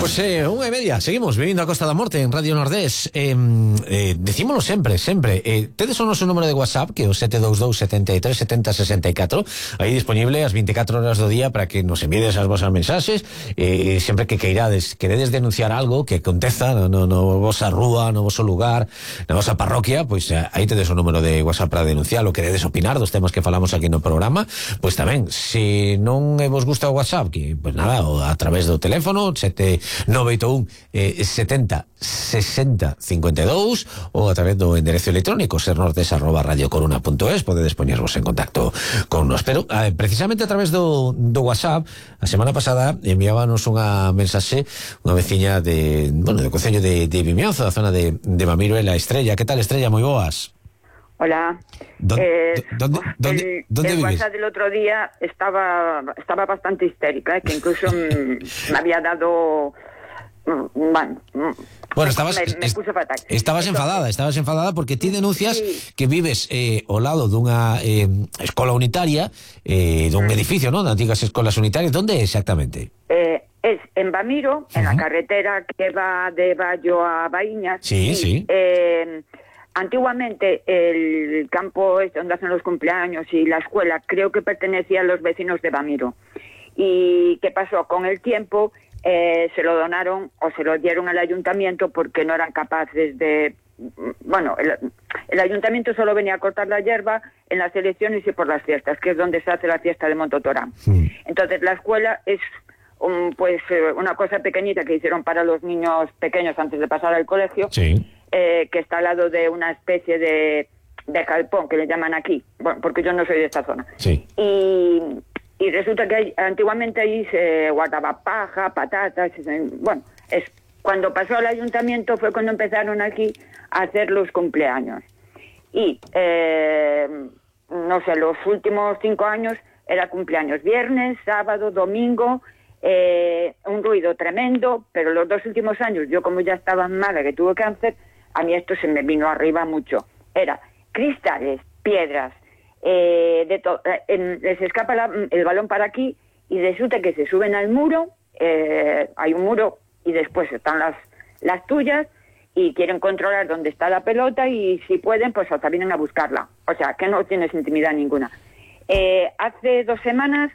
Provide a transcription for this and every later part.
Pois 1:30, seguimos vivindo a Costa da Morte en Radio Nordés. Decímolo sempre. Tedes o noso número de WhatsApp, que é o 722 73 70 64, aí disponible as 24 horas do día para que nos envíes as vosas mensaxes, sempre que queredes denunciar algo que aconteza no vosa rúa, no voso lugar, na vosa parroquia, pois aí tedes o número de WhatsApp para denunciar, o queredes opinar dos temas que falamos aquí no programa, pois tamén, se non vos gusta o WhatsApp, que, pois nada, a través do teléfono 981 70 60 52 ou a través do enderezo electrónico sernortes@radiocoruna.es. podedes poñervos en contacto con nos. Pero precisamente a través do WhatsApp, a semana pasada enviábanos unha mensaxe unha veciña do concello de Vimianzo, da zona de Mamiro, la Estrella. Que tal, Estrella? Moi boas. Hola. ¿Dónde el vives? WhatsApp del otro día estaba bastante histérica, que incluso me había dado... Bueno, me puse fatal. Estabas enfadada porque ti denuncias que vives ao lado dunha escola unitaria, dun edificio, ¿no?, de antigas escolas unitarias. ¿Dónde exactamente? Es en Bamiro, en la carretera que va de Bayo a Baíñas. Sí. Antiguamente el campo donde hacen los cumpleaños y la escuela creo que pertenecía a los vecinos de Bamiro. ¿Y qué pasó? Con el tiempo se lo donaron o se lo dieron al ayuntamiento porque no eran capaces de... Bueno, el ayuntamiento solo venía a cortar la hierba en las elecciones y por las fiestas, que es donde se hace la fiesta de Montotorán. Entonces la escuela es una cosa pequeñita que hicieron para los niños pequeños antes de pasar al colegio. Sí. Que está al lado de una especie de galpón que le llaman aquí, bueno, porque yo no soy de esta zona. Sí. Y resulta que antiguamente ahí se guardaba paja, patatas, bueno, cuando pasó al ayuntamiento fue cuando empezaron aquí a hacer los cumpleaños. Y, no sé, los últimos 5 años era cumpleaños viernes, sábado, domingo, un ruido tremendo, pero los 2 últimos años, yo como ya estaba mala, que tuve cáncer, a mí esto se me vino arriba mucho. Era cristales, piedras, de todo. Les escapa el balón para aquí y resulta que se suben al muro, hay un muro y después están las tuyas y quieren controlar dónde está la pelota y si pueden, pues hasta vienen a buscarla. O sea, que no tienes intimidad ninguna. Hace 2 semanas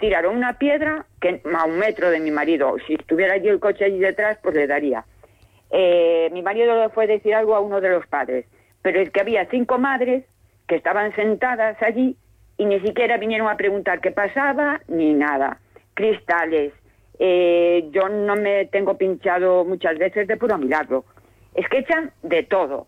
tiraron una piedra que a 1 metro de mi marido. Si estuviera allí el coche allí detrás, pues le daría. Mi marido le fue a decir algo a uno de los padres, pero es que había 5 madres que estaban sentadas allí y ni siquiera vinieron a preguntar qué pasaba ni nada. Cristales, yo no me tengo pinchado muchas veces de puro milagro. Es que echan de todo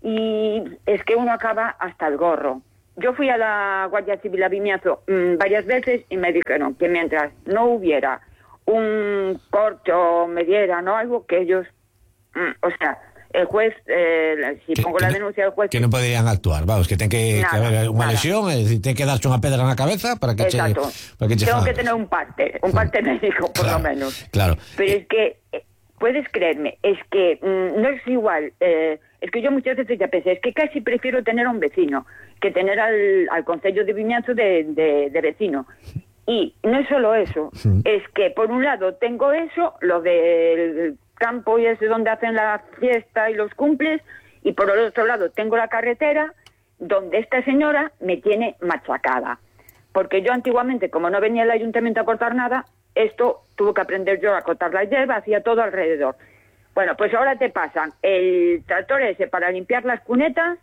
y es que uno acaba hasta el gorro. Yo fui a la Guardia Civil a Vimianzo varias veces y me dijeron que mientras no hubiera un corte o me dieran o algo, que ellos... o sea, el juez, si pongo la denuncia del juez... Que non poderían actuar, vamos, que ten que haber unha lesión, é dicir, ten que darse unha pedra na cabeza para que Exacto. Tengo que tener un parte médico, por lo menos. Claro. Pero es que, puedes creerme, es que no es igual, es que yo muchas veces ya pensé, es que casi prefiero tener a un vecino que tener al concello de Vimianzo de vecino. Y no es solo eso, es que por un lado tengo eso, lo del campo y ese donde hacen la fiesta y los cumples, y por el otro lado tengo la carretera donde esta señora me tiene machacada. Porque yo antiguamente, como no venía el ayuntamiento a cortar nada, esto tuve que aprender yo a cortar la hierba, hacía todo alrededor. Bueno, pues ahora te pasan el tractor ese para limpiar las cunetas.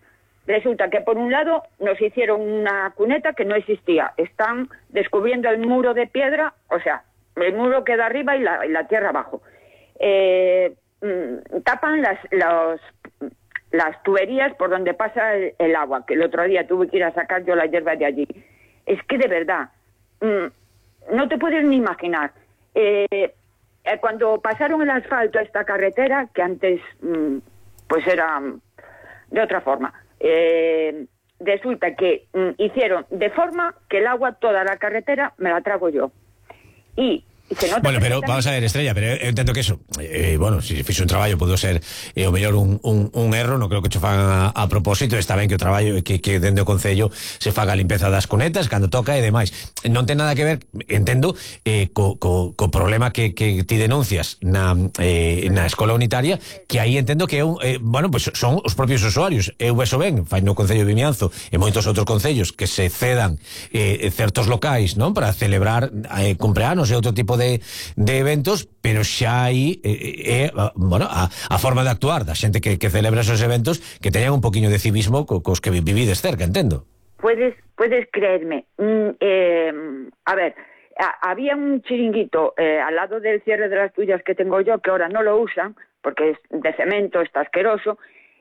Resulta que por un lado nos hicieron una cuneta que no existía. Están descubriendo el muro de piedra, o sea, el muro queda arriba y la tierra abajo. Tapan las tuberías por donde pasa el agua, que el otro día tuve que ir a sacar yo la hierba de allí. Es que de verdad, no te puedes ni imaginar. Cuando pasaron el asfalto a esta carretera, que antes pues era de otra forma, resulta que hicieron de forma que el agua, toda la carretera, me la trago yo. Y Bueno, pero vamos a ver, Estrella, pero eu entendo que eso, bueno, se fixo un traballo pode ser o mellor un erro, non creo que cho fagan a propósito. Está ben que o traballo que dende o Concello se faga a limpeza das cunetas cando toca e demais. Non ten nada que ver, entendo, co problema que ti denuncias na escola unitaria, que aí entendo que bueno, pues son os propios usuarios. Eu vexo ben, fai no Concello de Vimianzo e moitos outros concellos que se cedan certos locais, non, para celebrar cumpleanos e outro tipo de eventos, pero xa aí bueno, a forma de actuar da xente que celebra esos eventos, que teñan un poquinho de civismo cos que vivides cerca, entendo. Puedes creerme. A ver, había un chiringuito al lado del cierre de las tuyas que tengo yo, que ahora no lo usan porque es de cemento, está asqueroso,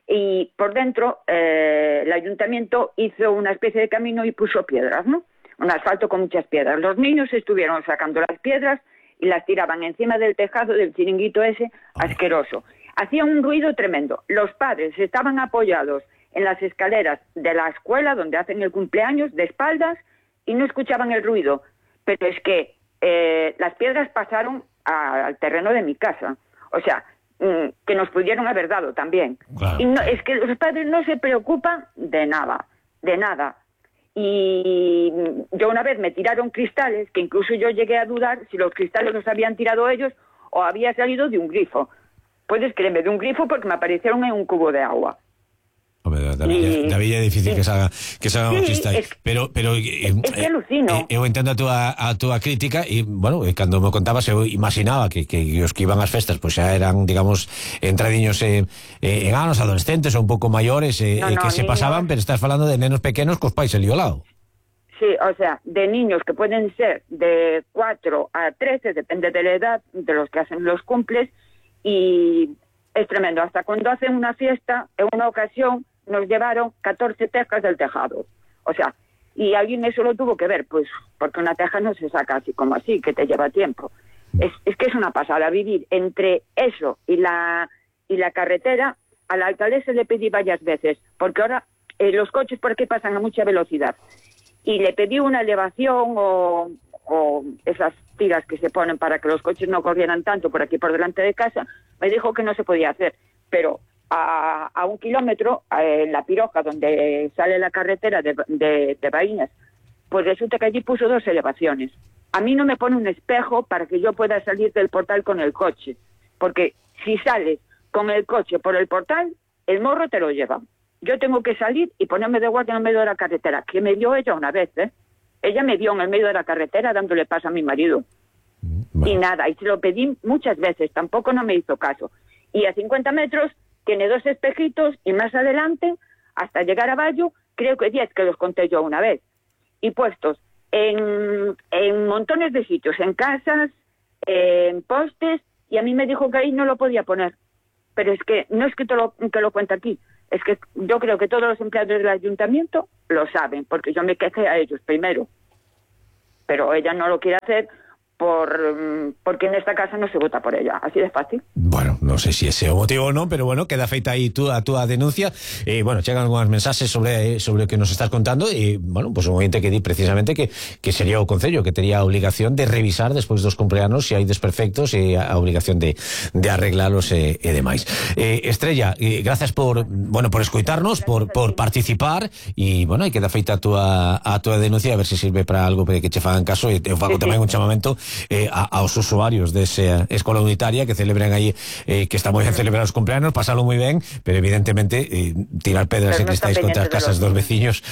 y por dentro el ayuntamiento hizo una especie de camino y puso piedras, ¿no? Un asfalto con muchas piedras. Los niños estuvieron sacando las piedras y las tiraban encima del tejado del chiringuito ese asqueroso. Hacía un ruido tremendo. Los padres estaban apoyados en las escaleras de la escuela donde hacen el cumpleaños, de espaldas, y no escuchaban el ruido. Pero es que las piedras pasaron al terreno de mi casa. O sea, que nos pudieron haber dado también. Claro. Y no, es que los padres no se preocupan de nada, de nada. Y yo una vez me tiraron cristales, que incluso yo llegué a dudar si los cristales los habían tirado ellos o había salido de un grifo. Puedes creerme, de un grifo, porque me aparecieron en un cubo de agua. David, é difícil que salga un cristal, pero es que alucino. Eu entendo a túa crítica e, bueno, cando me contabas eu imaginaba que os que iban ás festas pois xa eran, digamos, entradiños en anos, adolescentes ou un pouco maiores, que se pasaban, pero estás falando de nenos pequenos cos pais ali ao lado. Sí, o sea, de niños que pueden ser de 4 a 13, depende de la edad de los que hacen los cumples, y es tremendo. Hasta cuando hacen una fiesta, en una ocasión nos llevaron 14 tejas del tejado. O sea, y alguien eso lo tuvo que ver, pues porque una teja no se saca así como así, que te lleva tiempo. Es que es una pasada vivir entre eso y la carretera. A la alcaldesa le pedí varias veces, porque ahora los coches por aquí pasan a mucha velocidad, y le pedí una elevación o esas tiras que se ponen para que los coches no corrieran tanto por aquí por delante de casa. Me dijo que no se podía hacer, pero a 1 kilómetro, en la Piroja, donde sale la carretera de Baíñas, pues resulta que allí puso 2 elevaciones. A mí no me pone un espejo para que yo pueda salir del portal con el coche, porque si sales con el coche por el portal, el morro te lo lleva. Yo tengo que salir y ponerme de guardia en el medio de la carretera, que me dio ella una vez, Ella me dio en el medio de la carretera dándole paso a mi marido. Bueno. Y nada, y se lo pedí muchas veces, tampoco no me hizo caso. Y a 50 metros tiene 2 espejitos, y más adelante, hasta llegar a Bayo, creo que 10, que los conté yo una vez, y puestos en montones de sitios, en casas, en postes, y a mí me dijo que ahí no lo podía poner. Pero es que no es que lo cuente aquí, es que yo creo que todos los empleados del ayuntamiento lo saben, porque yo me quejé a ellos primero, pero ella no lo quiere hacer porque en esta casa no se vota por ella, así de fácil. Bueno, non sei se ese é o motivo ou non, pero bueno, queda feita aí a túa denuncia. Bueno, chegan algunhas mensaxes sobre o que nos estás contando, e, bueno, pues un ointe que di precisamente que sería o Concello que tería a obligación de revisar despois dos cumpleanos se hai desperfectos, e a obligación de arreglalos e demais. Estrella, gracias por escoitarnos, por participar, e, bueno, aí queda feita a túa denuncia, a ver se sirve para algo que che fagan caso, e eu fago tamén un chamamento aos usuarios desa escola unitaria que celebran aí, que está moi ben celebrar os cumpleanos, pasalo moi ben, pero evidentemente tirar pedras e cristais contra as casas dos veciños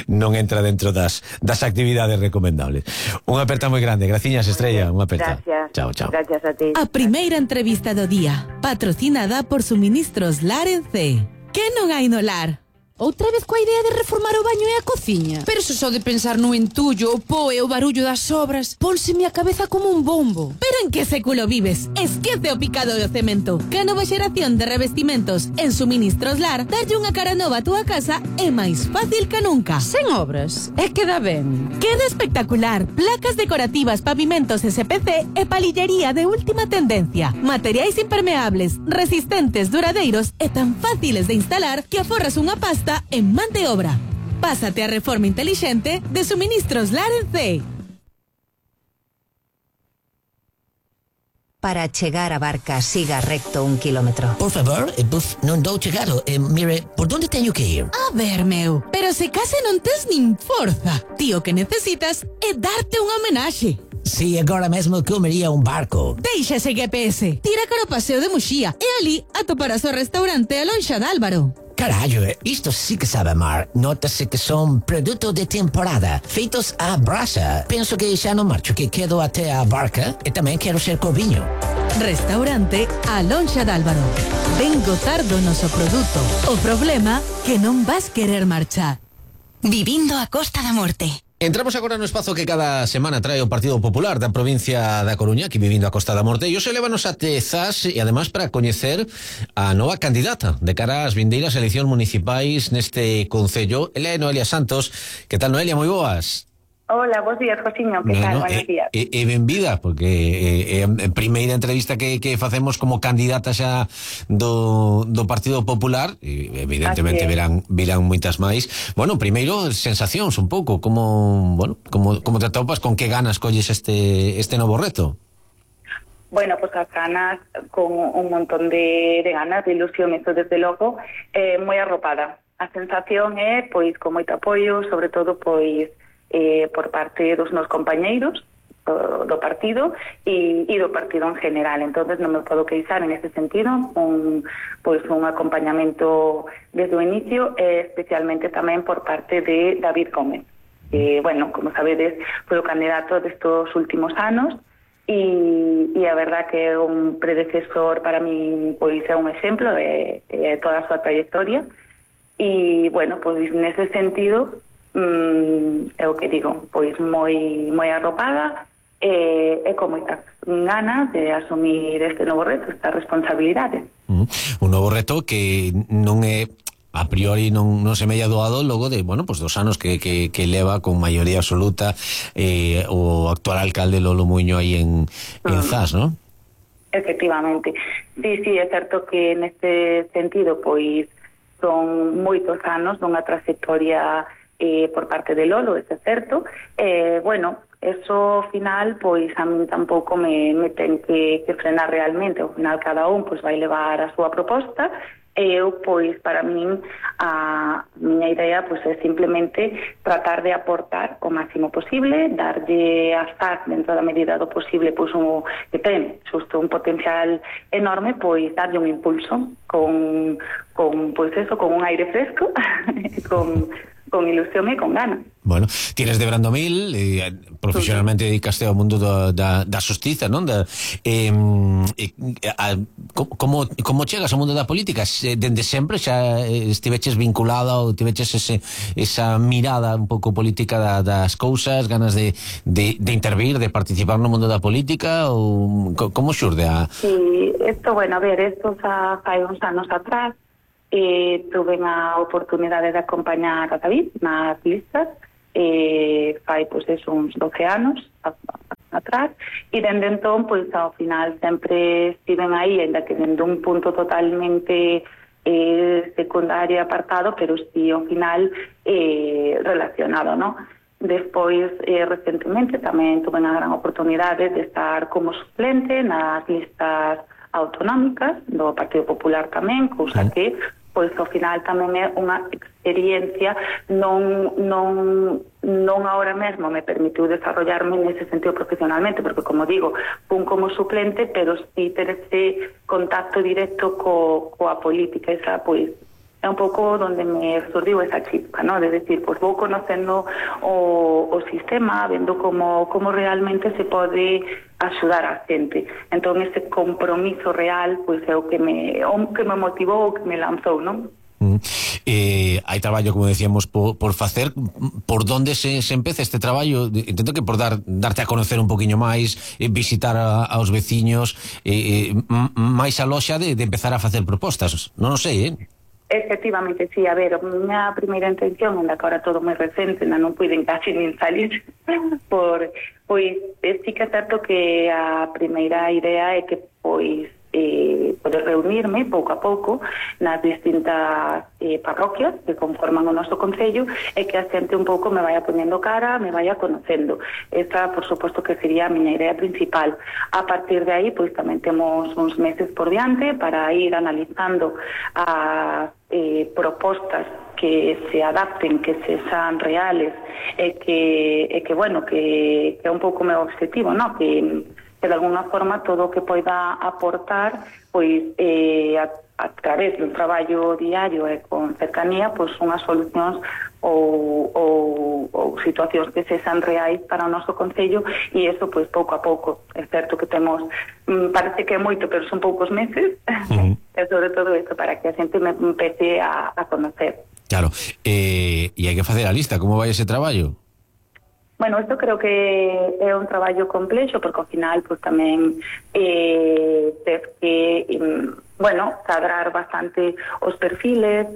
non entra dentro das actividades recomendables. Unha aperta moi grande, graciñas, Estrella, unha aperta. Gracias. Chao, chao. Gracias a ti. A primeira entrevista do día, patrocinada por Suministros Lar en C. Que non hai no lar? Outra vez coa idea de reformar o baño e a cociña? Pero se só de pensar no entullo, o po e o barullo das obras, pónseme a cabeza como un bombo. Pero en que século vives? Esquece o picado do cemento. Que a nova xeración de revestimentos en Suministros Lar darlle unha cara nova a túa casa é máis fácil que nunca. Sen obras, é que dá ben. Queda espectacular. Placas decorativas, pavimentos SPC e palillería de última tendencia. Materiais impermeables, resistentes, duradeiros e tan fáciles de instalar que aforras unha pasta en man de obra. Pásate a reforma inteligente de Suministros Lar en C. para chegar a Barca siga recto 1 kilómetro. Por favor, buf, non dou chegado. Mire, por onde teño que ir? A ver, meu, pero se case non tes nin forza. Tío, que necesitas é darte unha homenaxe. Si, agora mesmo comería un barco. Deixa ese GPS. Tira cara ao paseo de Muxía e ali atoparás o restaurante A Lonxa de Álvaro. Carallo, isto sí que sabe mar. Nótase que son produto de temporada, feitos á brasa. Penso que xa non marcho, que quedo até a Barca e tamén quero ser corviño. Restaurante A Lonxa de Álvaro. Ven gozar do noso produto. O problema que non vas querer marchar. Vivindo a Costa da Morte. Entramos agora no espazo que cada semana trae o Partido Popular da provincia da Coruña, aquí vivindo a Costa da Morte, e hoxe levanos a Tezas e ademais para coñecer a nova candidata de cara ás vindeiras eleccións municipais neste concello. Ela é Noelia Santos. Que tal, Noelia? Moi boas. Hola, bons días, Josiño, que tal? Buenos días. E benvida, porque é a primeira entrevista que facemos como candidata xa do Partido Popular, e evidentemente virán moitas máis. Bueno, primeiro, sensacións un pouco, como te atopas, con que ganas colles este novo reto? Bueno, pues as ganas, con un montón de ganas, de ilusión, isto desde logo, moi arropada. A sensación é, pois, con moito apoio, sobre todo, pois, por parte dos meus compañeiros do partido e do partido en general. Entonces non me podo queixar en ese sentido, un acompañamento desde o inicio, especialmente tamén por parte de David Gómez, que, bueno, como sabedes, foi o candidato destos últimos anos e a verdad que é un predecesor para mí, pois é un exemplo de toda a súa trayectoria e, bueno, pois nese sentido é o que digo, pois moi arropada e con moitas ganas de asumir este novo reto, esta responsabilidade. Un novo reto que non é a priori non se me haya doado logo de, bueno, pues 2 anos que leva con maioría absoluta o actual alcalde Lolo Muiño aí en Zas, ¿no? Efectivamente. Sí, é certo que neste sentido, pois son moitos anos dunha trayectoria por parte de Lolo, é certo. Bueno, eso ao final, pois a mí tampouco me ten que frenar realmente. Ao final cada un pois vai levar a súa proposta e eu, pois, para min a miña idea pois é simplemente tratar de aportar o máximo posible, darlle a Zas dentro da medida do posible, pois que ten xusto un potencial enorme, pois darlle un impulso con pois eso, con un aire fresco con ilusión e con ganas. Bueno, tienes de Brandomil, profesionalmente dedicaste ao mundo da xustiza, non? Como chegas ao mundo da política? Dende sempre xa estiveches vinculada ou tiveches esa mirada un pouco política das cousas, ganas de intervir, de participar no mundo da política, ou como xurde a... Sí, bueno, a ver, esto xa fai uns anos atrás, tuve a oportunidade de acompañar a David nas listas, fai pois uns 12 anos atrás, e dende entón pois ao final sempre estiven aí, ainda que dende un punto totalmente secundario apartado, pero sí ao final relacionado, ¿no? Despois, recentemente tamén tuve a gran oportunidade de estar como suplente nas listas autonómicas do Partido Popular tamén, cousa que pois ao final tamén é unha experiencia non agora mesmo me permitiu desarrollarme nese sentido profesionalmente, porque como digo, fun como suplente, pero si ter ese contacto directo coa política, esa pois é un pouco onde me surdiu esa chispa, ¿no? De decir, pois vou conocendo o sistema, vendo como realmente se pode axudar a xente. Entón ese compromiso real pois é o que me motivou, o que me lanzou, non? Hai traballo, como decíamos, por facer. Por donde se empeza este traballo? Intento que por darte a conocer un poquinho máis, visitar aos veciños, máis a loxa de empezar a facer propostas. Non o sei, Efectivamente, sí, a ver, a miña primeira intención, onde agora todo moi recente, non puiden casi nin salir, pois sí que é certo que a primeira idea é que pois poder reunirme pouco a pouco nas distintas parroquias que conforman o noso concello e que a xente un pouco me vaya poñendo cara, me vaya conocendo. Esta, por suposto, que sería a miña idea principal. A partir de aí, pois tamén temos uns meses por diante para ir analizando as propostas que se adapten, que se sean reales e que bueno, que é un pouco o meu objetivo, ¿no? Que de alguna forma todo o que poida aportar pois a través dun traballo diario e con cercanía, pois unhas solucións ou situacións que se sean reais para o noso concello, e eso pois pouco a pouco. É certo que temos, parece que é moito, pero son poucos meses, e sobre todo isto para que a xente me empece a conocer. Claro, e hai que facer a lista, como vai ese traballo? Bueno, isto creo que é un traballo complexo, porque ao final pues, tamén tes que cadrar bastante os perfiles,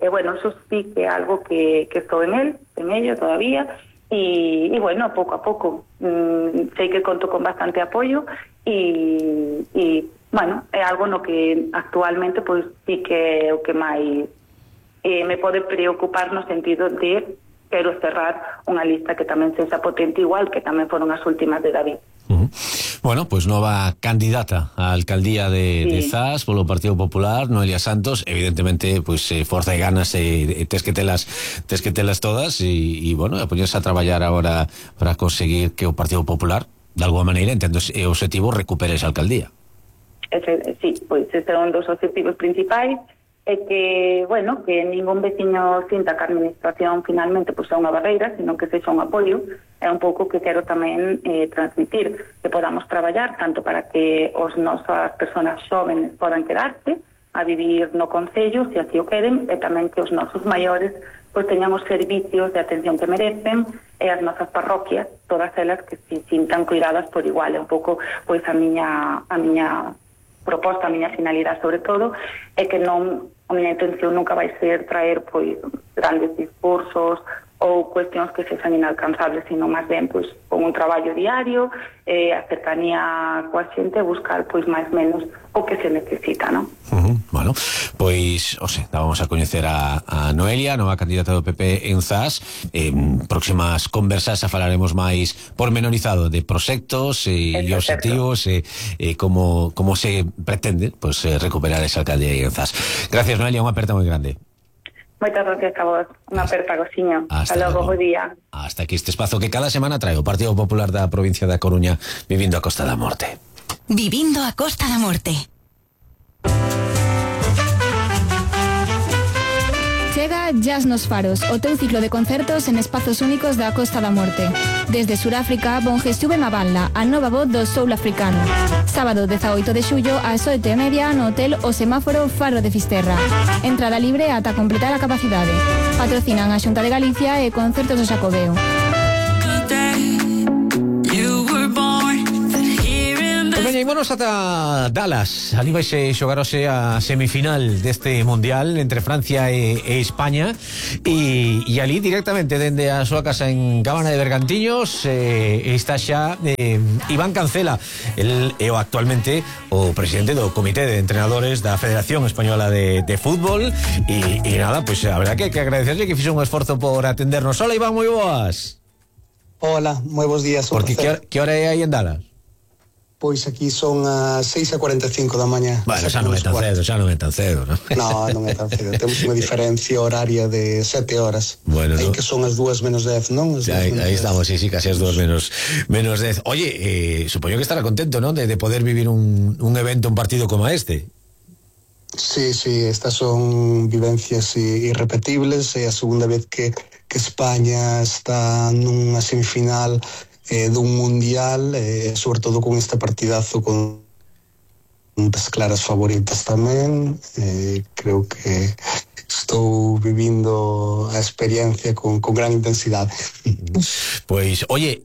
bueno, eso sí que é algo que estou en ello todavía, e bueno, pouco a pouco sei que conto con bastante apoio e bueno, é algo no que actualmente pues sí que é o que máis me pode preocupar no sentido de quero cerrar unha lista que tamén sexa potente, igual que tamén foron as últimas de David. Bueno, pues nova candidata á alcaldía de Zas polo Partido Popular, Noelia Santos. Evidentemente, pues forza e ganas tes que telas todas e bueno, a poñerse a traballar agora para conseguir que o Partido Popular, de alguma maneira, entendo o objetivo, recupere esa alcaldía. Sí, pois ese é un dos objetivos principais, é que, bueno, que ningún veciño sinta que a administración finalmente pues, é unha barreira, sino que sexa un apoio. É un pouco que quero tamén transmitir, que podamos traballar tanto para que os nosas persoas xóvenes podan quedarse a vivir no concello, se así o queren, e tamén que os nosos maiores pues, teñan os servicios de atención que merecen, e as nosas parroquias, todas elas que se sintan cuidadas por igual. É un pouco pois a miña proposta, a miña finalidade sobre todo, é que non, a miña intención nunca vai ser traer pois grandes discursos ou cuestións que sexan inalcanzables, sino máis ben pois con un traballo diario, a cercanía coa xente, buscar pois máis menos o que se necesita, non? Bueno, pois, vamos a coñecer a Noelia, nova candidata do PP en Zas. Próximas conversas a falaremos máis pormenorizado de proxectos e objetivos e como se pretende pues, recuperar esa alcaldía en Zas. Gracias, Noelia, unha aperta moi grande. Moitas gracias a vos. Unha aperta, Gociño. Hasta logo, bo día. Hasta aquí este espazo que cada semana trae o Partido Popular da provincia da Coruña, Vivindo a Costa da Morte. Vivindo a Costa da Morte. Chega Jazz nos Faros, o teu ciclo de concertos en espazos únicos da Costa da Morte. Desde Suráfrica, Bonjestuve Maballa, a nova voz do soul africano. Sábado 18 de xullo ás 8:30 no Hotel O Semáforo Faro de Fisterra. Entrada libre ata completar a capacidade. Patrocinan a Xunta de Galicia e Concertos do Xacobeo. Vámonos ata Dallas. Ali vaise xogarose a semifinal deste Mundial entre Francia e España e ali directamente dende a súa casa en Cabana de Bergantiños está xa Iván Cancela. El é actualmente o presidente do Comité de Entrenadores da Federación Española de Fútbol e nada, pues habrá que agradecerle que fixo un esforzo por atendernos. Hola Iván, moi boas. Hola, moi bons días. Porque que hora é aí en Dallas? Pois aquí son as 6:45 da mañá. Bueno, xa non é tan cedo, non? Non é tan cedo. Temos unha diferencia horaria de 7 horas. Bueno, aí que son as 2 menos 10, non? Aí estamos, sí, casi as 2 menos 10. Oye, supoño que estará contento, non? De poder vivir un evento, un partido como este. Sí, estas son vivencias irrepetibles. É a segunda vez que España está nunha semifinal dun mundial, sobre todo con este partidazo con das claras favoritas tamén. Creo que estou vivindo a experiencia con gran intensidade. Pois, oye,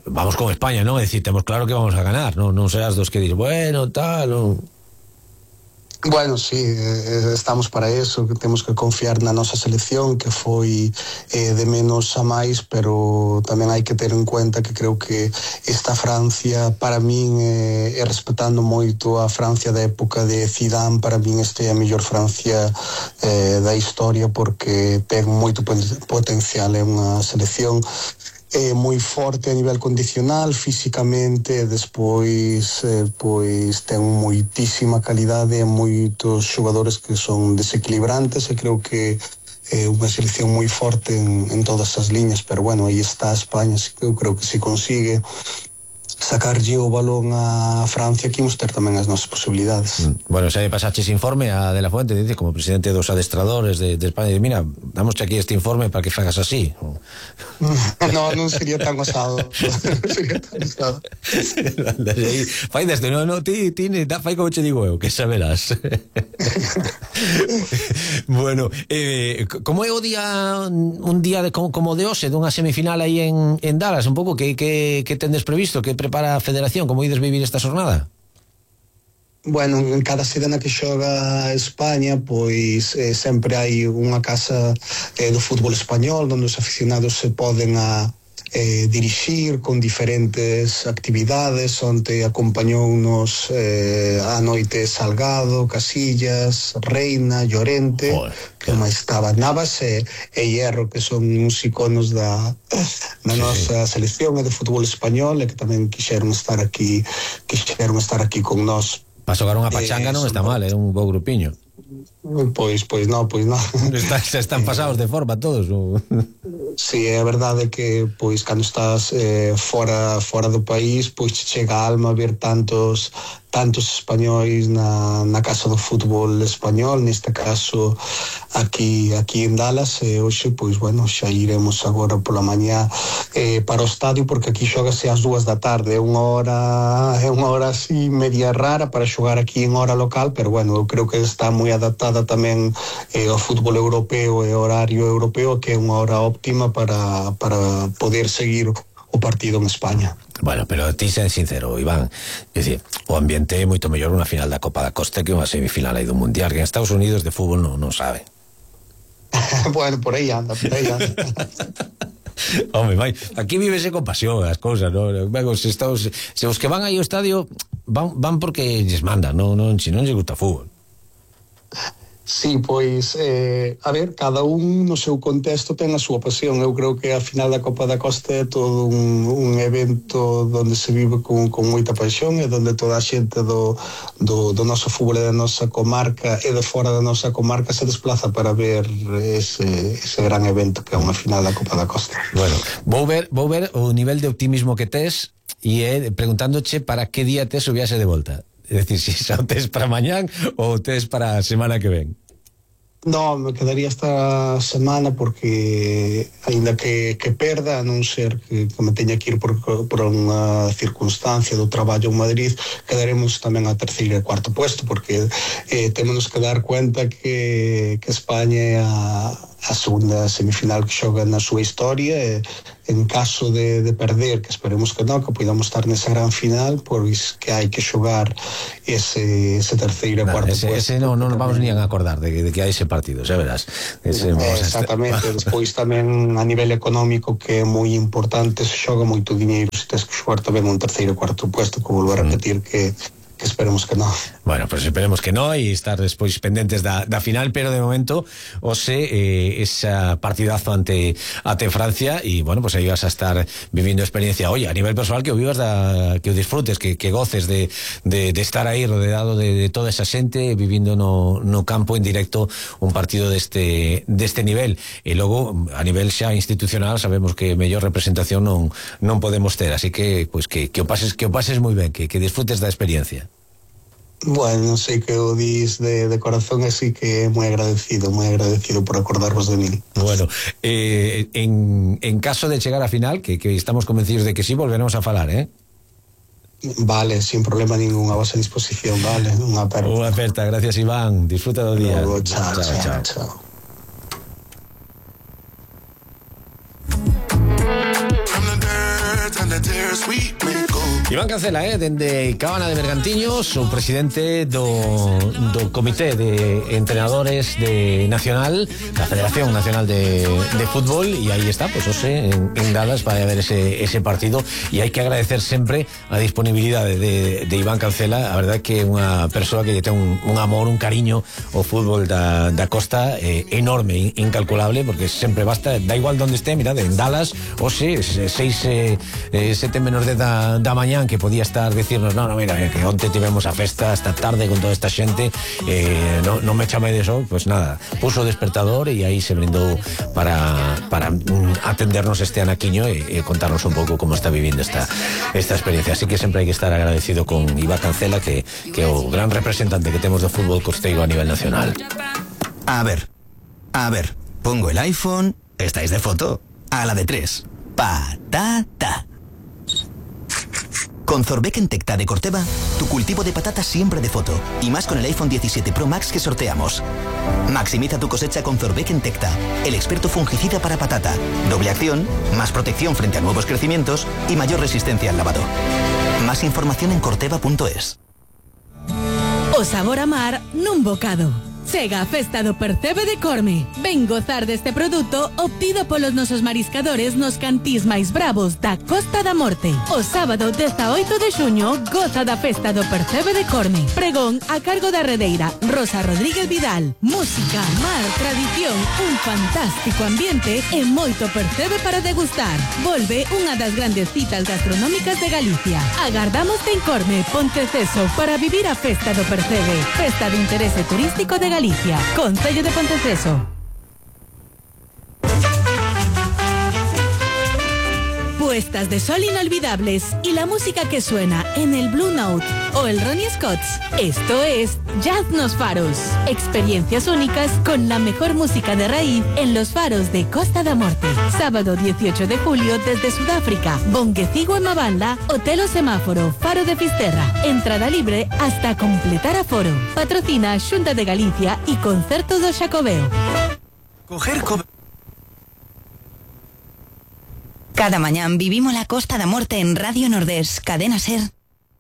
vamos con España, non? É dicir, temos claro que vamos a ganar, non serás dos que dir, bueno, tal, non... Bueno, sí, estamos para eso, que temos que confiar na nosa selección, que foi de menos a máis, pero tamén hai que ter en cuenta que creo que esta Francia, para min, respetando moito a Francia da época de Zidane, para min este é a mellor Francia da historia, porque ten moito potencial, é unha selección moi forte a nivel condicional, físicamente, despois pois ten moitísima calidade, moitos xogadores que son desequilibrantes, e creo que é unha selección moi forte en todas as liñas, pero bueno, aí está España, eu creo que se consigue sacarlle o balón a Francia, que imos ter tamén as nosas posibilidades. Bueno, xa pasaches informe a De La Fuente, dice, como presidente dos adestradores de España, dice, mira, damoste aquí este informe para que fagas así. No, non sería tan osado. Non sería tan osado. Fai desde, no, ti fai como che digo eu, que saberás. Bueno, como é o día, un día como de hoxe, dunha semifinal aí en Dallas, un pouco, que tendes previsto, que prepara a Federación, como ides vivir esta xornada? Bueno, en cada sede na que xoga España, pois sempre hai unha casa do fútbol español onde os aficionados se poden dirixir con diferentes actividades. Onte acompañounos a noite Salgado, Casillas, Reina, Llorente, que máis estaba Navas e Hierro, que son uns iconos da nosa selección e do fútbol español, e que tamén quixeron estar aquí con nós. Para xogar unha pachanga non está mal, é un bo grupiño. Pois non. Están pasados de forma todos. Sí, é verdade que pois cando estás fora do país, pois chega a alma ver tantos españois na casa do fútbol español, neste caso aquí en Dallas, e hoxe, pois, bueno, xa iremos agora pola mañá para o estadio, porque aquí xógase ás 2 da tarde, é unha hora así media rara para xogar aquí en hora local, pero bueno, eu creo que está moi adaptada tamén ao fútbol europeo e horario europeo, que é unha hora óptima para poder seguir o partido en España. Bueno, pero ti sei sincero, Iván, é dicir, o ambiente é moito mellor unha final da Copa da Costa que unha semifinal aí do Mundial, que en Estados Unidos de fútbol non sabe. Bueno, por aí anda. Home, vai, aquí vívese con pasión as cousas, non? Se os que van aí ao estadio van porque lles mandan, non se non lles gusta o fútbol. Sí, pois, a ver, cada un no seu contexto ten a súa pasión. Eu creo que a final da Copa da Costa é todo un evento onde se vive con moita paixón, e onde toda a xente do noso fútbol e da nosa comarca e de fora da nosa comarca se desplaza para ver ese gran evento que é unha final da Copa da Costa. Bueno, vou ver o nivel de optimismo que tes, e preguntándoche para que día tes o viaxe de volta. É dicir, si xa o tes para mañán ou o tes para a semana que ven. No, me quedaría esta semana, porque aínda que perda, a non ser que me teña que ir por unha circunstancia do traballo en Madrid, quedaremos tamén a terceiro e cuarto puesto, porque temos que dar cuenta que España é a segunda semifinal que xoga na súa historia, e en caso de perder, que esperemos que non, que podamos estar nesa gran final, pois que hai que xogar ese terceiro e cuarto puesto. Ese non nos vamos ni a acordar de que hai ese partido, xa verás. Exactamente. Despois tamén a nivel económico, que é moi importante, se xoga moito diñeiro, se tens que xogar tamén un terceiro e cuarto puesto, que volvo a repetir que esperemos que no. Bueno, pues esperemos que no, e estar despois pendentes da final, pero de momento esa partidazo ante Francia, e bueno, pues aí vas a estar vivindo experiencia. Oye, a nivel personal, que o vivas, que o disfrutes, que goces de estar aí rodeado de toda esa xente, vivindo no campo en directo un partido deste nivel. E logo, a nivel xa institucional, sabemos que mellor representación non podemos ter, así que pues que o pases moi ben, que disfrutes da experiencia. Bueno, sei que o dis de corazón, así que moi agradecido por acordarvos de mí. Bueno, en caso de chegar a final, que estamos convencidos de que sí, volveremos a falar, Vale, sin problema ningún, a vosa disposición, vale, unha aperta. Gracias, Iván, disfruta do día. Luego, chao. From the dirt and the tears we may go. Iván Cancela, dende Cabana de Bergantiños, o presidente do Comité de Entrenadores de Nacional, da Federación Nacional de Fútbol, e aí está, pues en Dallas para ver ese partido, e hai que agradecer sempre a disponibilidade de Iván Cancela. A verdade que é unha persoa que ten un amor, un cariño ao fútbol da costa enorme, incalculable, porque sempre basta, da igual donde esté, mirad, en Dallas, 6, 7 menos 10 da mañán, que podía estar decirnos, no, mira, que onte tivemos a festa hasta tarde con toda esta xente, no me chame de eso, pues nada, puso o despertador e aí se brindou para atendernos este anaquiño e contarnos un pouco como está vivindo esta experiencia. Así que sempre hai que estar agradecido con Iván Cancela, que é o gran representante que temos do fútbol costeiro a nivel nacional. A ver, pongo el iPhone, estáis de foto, a la de 3, patata. Con Zorbeck en Tecta de Corteva, tu cultivo de patatas siempre de foto, y más con el iPhone 17 Pro Max que sorteamos. Maximiza tu cosecha con Zorbeck en Tecta, el experto fungicida para patata. Doble acción, más protección frente a nuevos crecimientos y mayor resistencia al lavado. Más información en corteva.es. O sabor a mar nun bocado. Chega a festa do Percebe de Corme. Ven gozar deste produto obtido polos nosos mariscadores nos cantís máis bravos da Costa da Morte. O sábado 18 de xuño goza da festa do Percebe de Corme. Pregón a cargo da redeira Rosa Rodríguez Vidal. Música, mar, tradición, un fantástico ambiente e moito percebe para degustar. Volve unha das grandes citas gastronómicas de Galicia. Agardámoste en Corme, Ponteceso, para vivir a festa do Percebe. Festa de interese turístico de Galicia, Concello de Ponteceso. Puestas de sol inolvidables y la música que suena en el Blue Note o el Ronnie Scott's. Esto es Jazz nos Faros. Experiencias únicas con la mejor música de raíz en los faros de Costa da Morte. Sábado 18 de julio desde Sudáfrica, Bonguecigo en Mabanda, Hotel O Semáforo, Faro de Fisterra. Entrada libre hasta completar aforo. Patrocina Xunta de Galicia y Concertos do Xacobeo. Cada mañán vivimos la Costa da Morte en Radio Nordés, Cadena Ser,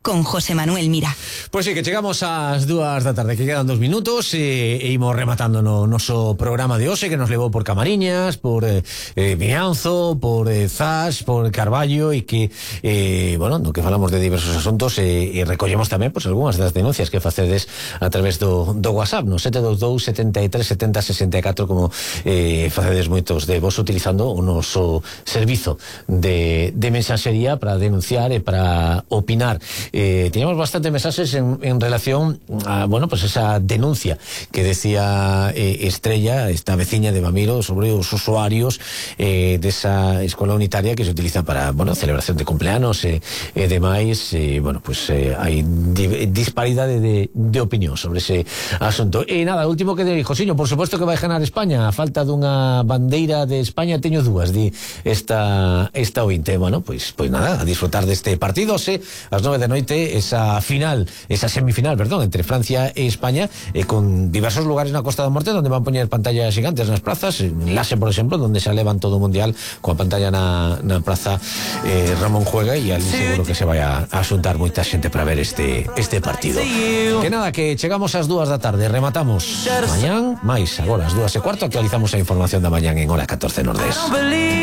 con José Manuel Mira. Pois sí, que chegamos ás 2 da tarde, que quedan 2 minutos e imos rematando no noso programa de hoxe, que nos levou por Camariñas, por Mianzo, por Zas, por Carballo, e que no que falamos de diversos asuntos e recollemos tamén algunhas das denuncias que facedes a través do WhatsApp, no 722 73 70 64, como facedes moitos de vos utilizando o noso servizo de mensaxería para denunciar e para opinar. Teníamos bastantes mensajes en relación a, esa denuncia que decía Estrella, esta veciña de Bamiro, sobre os usuarios de esa escola unitaria que se utiliza para, celebración de cumpleanos e demais. Hai disparidade de opinión sobre ese asunto. E nada, último que de Josiño, por suposto que vai ganar España, a falta dunha bandeira de España teño dúas, di esta ointe. Pois nada, a disfrutar deste partido, ás 9 de noite, esa semifinal, entre Francia e España, con diversos lugares na Costa da Morte donde van poñer pantallas gigantes nas plazas. En Lase, por exemplo, donde se alevan todo o mundial coa pantalla na praza Ramón Juega, e ali seguro que se vai a xuntar moita xente para ver este partido. Que nada, que chegamos ás 2 da tarde, rematamos mañán máis, agora ás 2:15 actualizamos a información da mañán en Hora 14 Nordés.